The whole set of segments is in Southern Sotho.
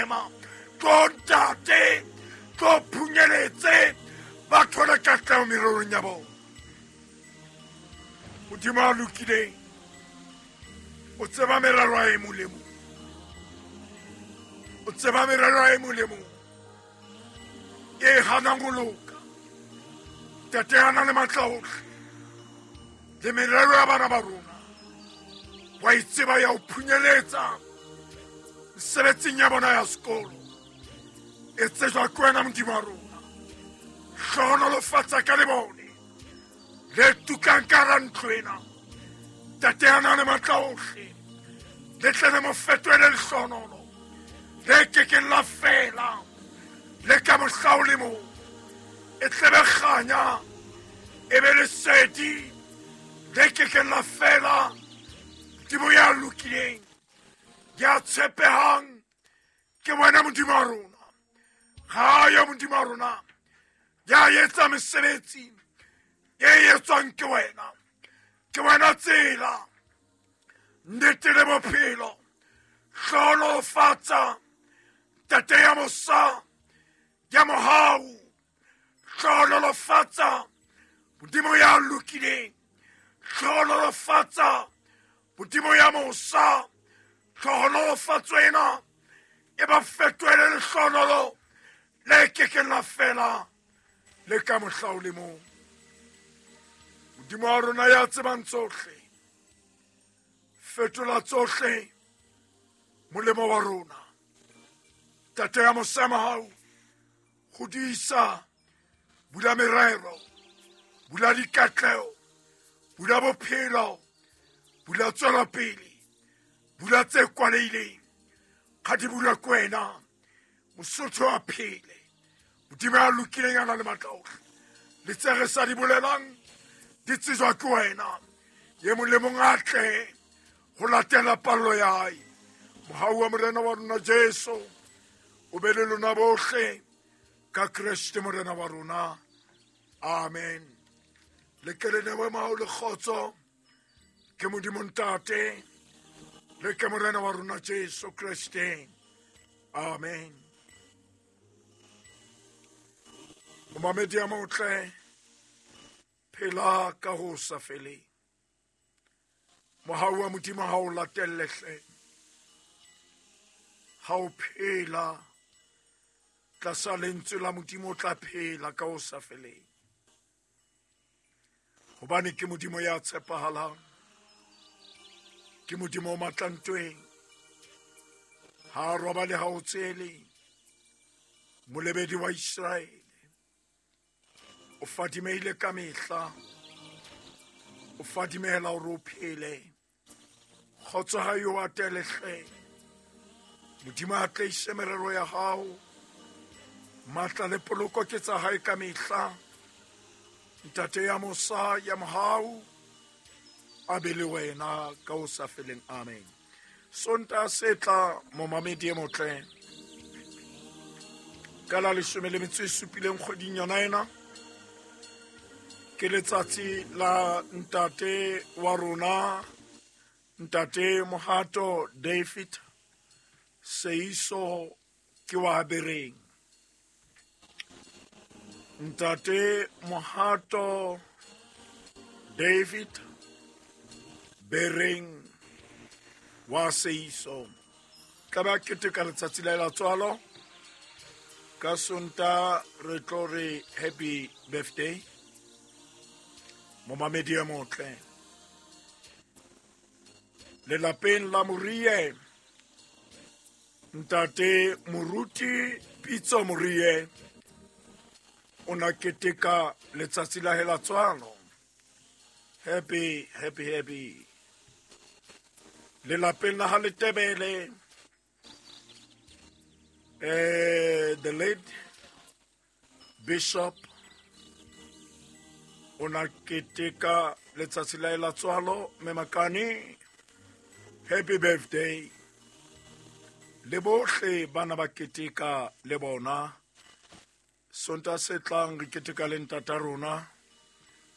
ema. Tlo ntate, tlo phunyeletse, ba thole katleho mererong ya bona. Modimo a lokileng, o tseba merero ya e mong le mong. O tseba merero ya e mong le mong e hanang ho loka. Ntate ya nang le matla ohle le merero ya bana ba rona, wa e tseba ya ho phunyeletsa mesebetsing ya bona ya sekolo. E tsejwa ke wena Modimo wa rona. Hlohonolofatsa ka lebone le tukang ka hara ntlo ena. Ntate ya nang le matla ohle, le tle le mo fetohele lehlohonolo le kekeng la fela le ka mohla o le mong. E tle be kganya, e be lesedi le kekeng la fela. Modimo ya lokileng, ya tshepehang, ke wena Modimo wa rona. Ga yo Modimo wa rona ya etsa mesebetsi e etswang ke wena. Ke wena tsela, nnete le bophelo. Hlohonolofatsa Ntate ya mosa, ya mohau. Hlohonolofatsa Modimo ya lokileng. Hlohonolofatsa Modimo ya mosa. Hlohonolofatso ena e ba fetohele lehlohonolo le kekeng la fela le ka mohla o le mong. Modimo wa rona ya tsebang tsohle, fetola tsohle molemo wa rona. Ntate ya mosa mahau, hodisa, bula merero, bula dikatleho, bula bophelo, bula tswelopele, bula tse kwalehileng. Ga di bulwe ke wena, Mosotho a phele. Modimo ya lokileng a na le matla ohle, le tse re sa di bolelang di tsejwa ke wena. Ye mong le mong a tle ho latela pallo ya hae. Mohau wa Morena wa rona Jesu o be le lona bohle ka Kreste Morena wa rona. Amen. Le ke le newe mahau le kgotso ke Modimo Ntate le ke Morena wa rona Jesu Kreste. Amen. Momamedi ya motle, phela ka ho sa feleng. Mohau wa Modimo ha o latelle hle. Ha o phela tlasa lentswe la Modimo, o tla phela ka ho sa feleng. Hobane ke Modimo ya tshepahalang, ke Modimo o matla ntweng. Ha a robale, ha o tsele. Molebedi wa Iseraele o fadimehile ka mehla, o fadimehela hore o phele. Kgotso ha yo atele hle. Modimo a tleise merero ya hao. Matla le poloko ke tsa hae ka mehla. Ntate ya mosa ya mohau a be le wena ka ho sa feleng. Amen. Sonta se tla momamedi e motle ka la 17 kgweding yona ena, ke letsatsi la ntate wa rona, Ntate Mohato David Seiso ke wa Bereng. Ntate Mohato David Bereng wa Seiso tla ba keteka letsatsi la la tswalo ka Sonta. Re tlo re happy birthday, momamedi e motle. Lelapeng la Morie, Ntate Moruti Pitso Morie o na keteka letsatsi la hela tswalo. Happy, happy, happy. Lelapeng la ha Letebele, the late Bishop o na keteka letsatsi la la tswalo. Memakane, happy birthday. Le bohle bana ba keteka le bona. Sonta se tlang re keteka le ntata rona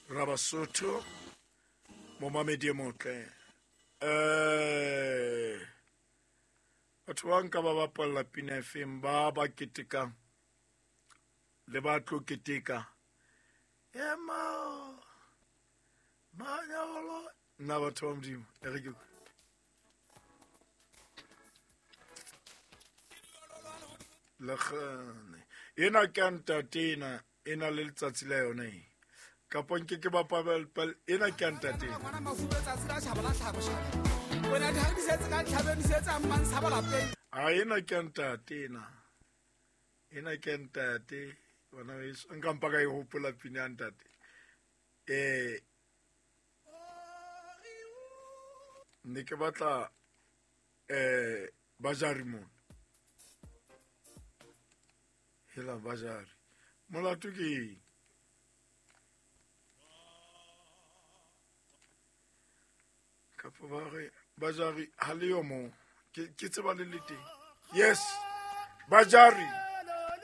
Rabasotho, momamedi e motle. Batho ba nka ba bapalla Pina FM ba ba ketekang le ba tlo keteka. Ema manyalo nna batho ba Modimo e re ke lekgane ena ke ya ntate ena e na le letsatsi la yona e kapa nke ke bapala ena ke ya ntate ena. A ena ke ya ntate ena ena ke ya ntate bana beso nka mpa ka e hopola pina ya ntate ne ke batla bajari mona hela bajari molato ke eng kapa ba re bajari ha le yo mo ke tseba le le teng yes bajari.